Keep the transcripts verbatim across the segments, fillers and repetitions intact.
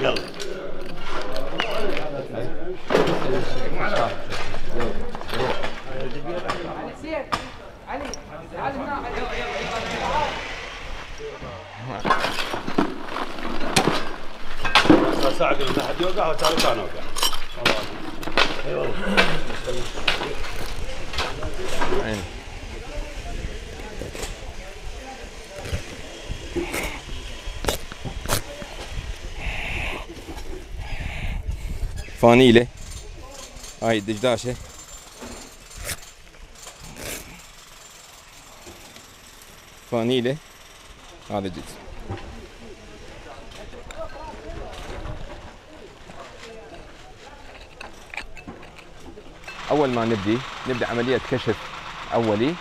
يلا علي تعال هنا ساعة قلنا حد يوقع وتعالوا كان اوقع. اي والله. عين. فانيلة هاي الدجداشة فانيلة هذا الجزء. أول ما نبدي نبدأ عملية كشف أولي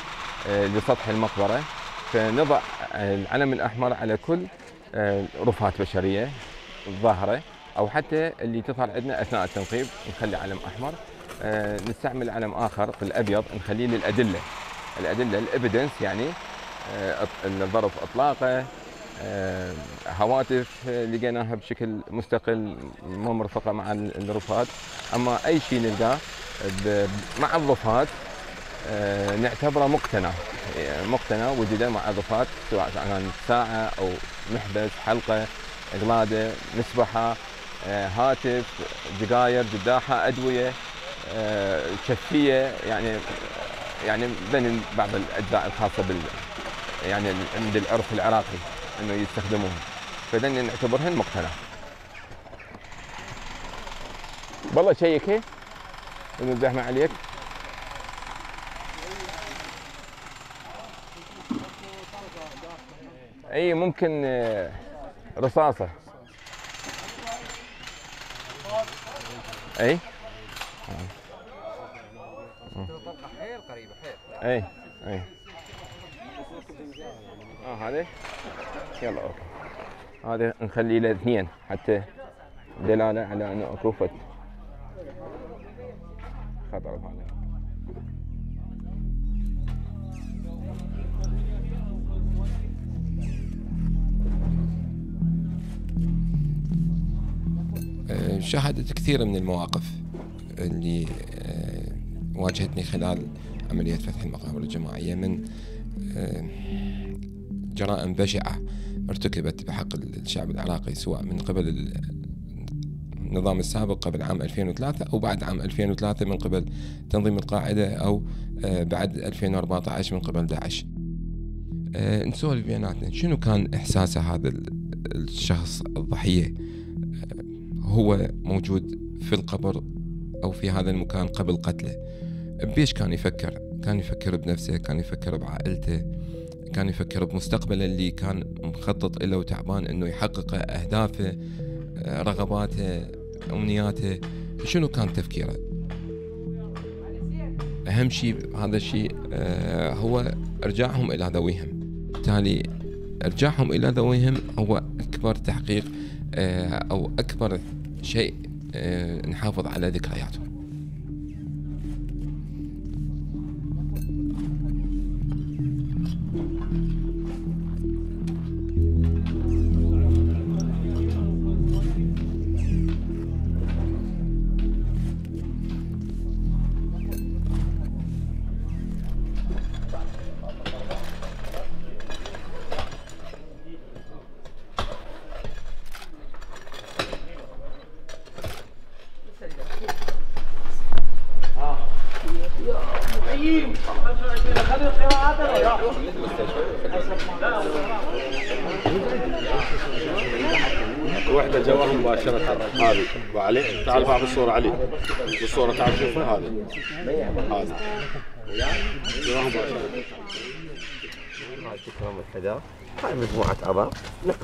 لسطح المقبرة، فنضع العلم الأحمر على كل رفات بشرية الظاهرة أو حتى اللي تظهر عندنا أثناء التنقيب نخلي علم أحمر. نستعمل علم آخر في الأبيض نخليه للأدلة، الأدلة الإيفيدنس يعني الظرف إطلاقه، هواتف لقيناها بشكل مستقل مو مرفقة مع الرفات. أما أي شيء نلقاه مع الرفات نعتبره مقتنى مقتنى وجوده مع الرفات، سواء كانت ساعة أو محبس، حلقة، قلادة، مسبحة، هاتف، جقاير، جداحة، أدوية، شفية، يعني يعني بين بعض الأجزاء الخاصة بال يعني عند العرف العراقي إنه يستخدموهم، فذن نعتبرهن مقتنى. والله شيك هيك إنه الزحمة عليك. اي ممكن رصاصة. اي حيل قريبة حيل. اي اي اه هذا يلا اوكي، هذا نخليه له اثنين حتى دلالة على انه اكو فت خطر. هذا شاهدت كثير من المواقف اللي واجهتني خلال عملية فتح المقابر الجماعية من جرائم بشعة ارتكبت بحق الشعب العراقي، سواء من قبل النظام السابق قبل عام ألفين وثلاثة أو بعد عام ألفين وثلاثة من قبل تنظيم القاعدة، أو بعد ألفين وأربعة عشر من قبل داعش. نسولف بيناتنا شنو كان إحساسه هذا الشخص الضحية هو موجود في القبر أو في هذا المكان قبل قتله؟ بيش كان يفكر؟ كان يفكر بنفسه، كان يفكر بعائلته، كان يفكر بمستقبله اللي كان مخطط له وتعبان انه يحقق اهدافه، رغباته، امنياته. شنو كان تفكيره؟ اهم شيء هذا الشيء هو ارجاعهم الى ذويهم. بالتالي ارجاعهم الى ذويهم هو اكبر تحقيق او اكبر شيء نحافظ على ذكرياتهم. وحده جواها مباشرة هذه وعلي، تعال بعض الصورة علي بالصورة، تعال شوفها هذه هذه جواها مباشرة. هاي تكرم الحذاء، هاي مجموعة أعضاء نقرأ